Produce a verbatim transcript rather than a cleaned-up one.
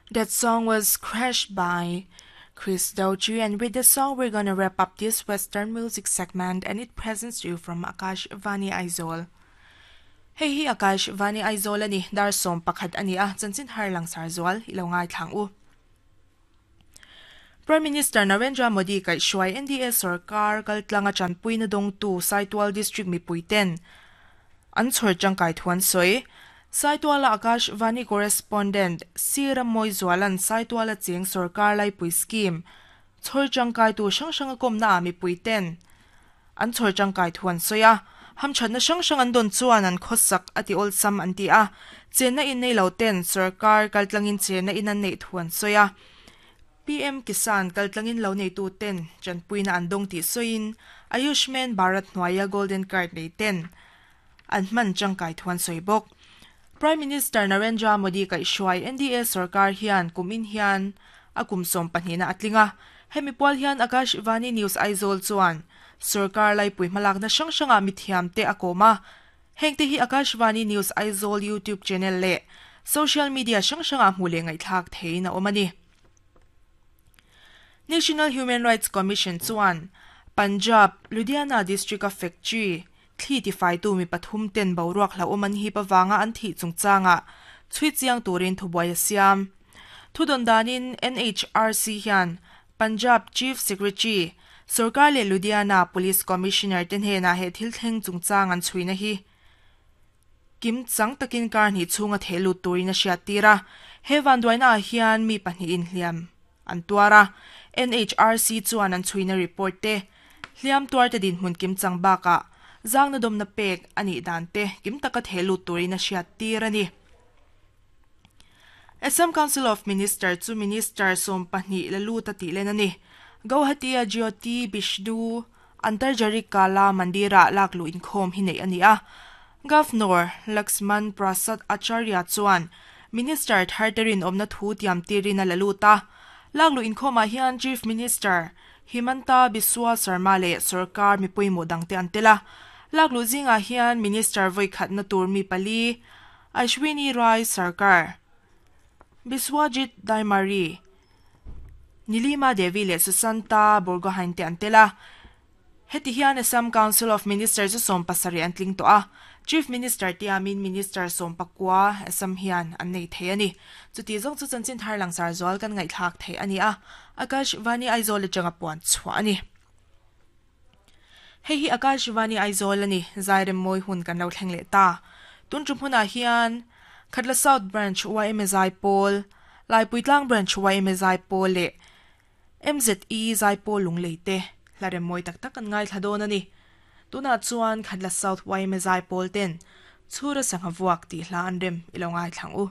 That song was Crashed by Chris Doju, and with the song we're gonna wrap up this Western music segment, and it presents you from Akash Vani Aizawl. Hei hi Akash Vani Aizawl ani dar som pakhat ani a chanchin har lang sar zual ilo ngai thlang u. Prime Minister Narendra Modi kai shuai N D A sarkar kaltlanga chanpui na dong tu Saitual District mi puiten an chhor changkai thuan soi Saituala Akash Vani correspondent Sira Moizualan Saituala cheng sarkar lai pui scheme chhor changkai tu sang sang kom na mi puiten an chhor changkai thuan soya ham chan na sang sang an don chuan an khosak ati ol sam an ti a chena in nei lo ten sarkar kaltlangin chena in an nei thuan soya P M Kisan kaltlangin lo nei tu ten chanpuina an dong ti soin Ayushman Bharat Noya Golden Card nei ten an man changkai thuan soibok Prime Minister Narendra Modi kai shuai N D A sarkar hian kumin hian akum som pahnina atlinga hemi pol hian Akash Vani News Aizawl chuan sarkar lai pui malak na sang sanga mithiam te akoma hengte hi Akash Vani News Aizawl YouTube channel le social media sang sanga hmule ngai thak theina omani National Human Rights Commission chuan Punjab Ludhiana District of Factory thli ti fai tu mi pathum ten boruak hla oman hi pawanga an thi chungchanga chui chiang turin thubuai siam thudon danin N H R C hian Punjab Chief Secretary sarkar le Ludhiana Police Commissioner ten he na he thil thleng chungchang an chuina hi kim chang takin kar ni chunga thelu turin a hriat tira hewan duaina hian mi pahnih in hliam an tuara N H R C chuan an chuina report te hliam tuar te din hmun kim chang baka zang na dom na pek ani dan te kim taka thelu turin a hriat tir ani Assam Council of Minister chu Minister som pahnih lalu ta ti len ani Guwahati a Jyoti Bishnu Antarjari Kala Mandira laklu inkhom hi nei ani a Governor Laxman Prasad Acharya chuan Minister tharterin omna thu tiam tirina lalu ta laklu inkhoma hian Chief Minister Himanta Biswa Sarma le sarkar mi puimo dangte antela laklu zinga hian Minister voikhat na tur mi pali Ashwini Rai Sarkar Biswajit Daimari Nilima Devi le Susanta Borgohain te antela heti hian Assam Council of Ministers som pasari antling to a Chief Minister tiamin Minister som pakwa Assam hian an nei thei ani chuti zong chu chanchin thar langsar zual kan ngai thak thei ani a Akash Vani Aizawl le changa puan chhuah ani hei hi Akash Vani Aizawl ani zairem moi hun kan lo thleng le ta tun tum huna hian Khatla South Branch Y M A Paul Laipuitlang Branch Y M A Paul le M Z E Zai Paul lung leite hlarem moi tak tak an ngai thladon ani tuna chuan Khatla South Y M A Paul ten chhura sangha vuak ti hla an rem ilo ngai thlang u.